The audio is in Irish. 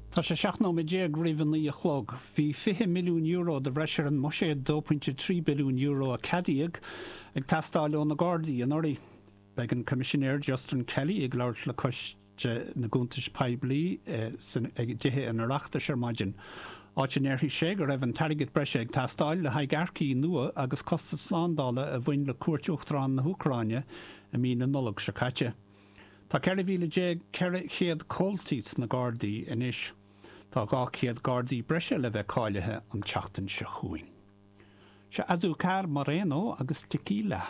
Tá sé 17 nóiméad roimh a 9 a chlog. Bhí €20 milliún de bhreis ar an mbuiséad €2.3 billiún a ceadaíodh ag teastáil ó na Gardaí anuraidh. Beidh an Coimisinéir Justin Kelly ag labhairt le Coiste na gCuntas Poiblí i dTithe an Oireachtais ar maidin, áit a ndéarfaidh sé go raibh an t-airgead breise ag teastáil le haghaidh earcaí nua agus costais slándála a bhain le cuairt Uachtarán na hÚcráine i mí na Nollag seo caite. Tá 14,400 comhaltaí sna Gardaí anois. Tá 200 Gardaí breise le bheith cáilithe an tseachtain seo chugainn. Seo Azúcar Moreno agus Tequila.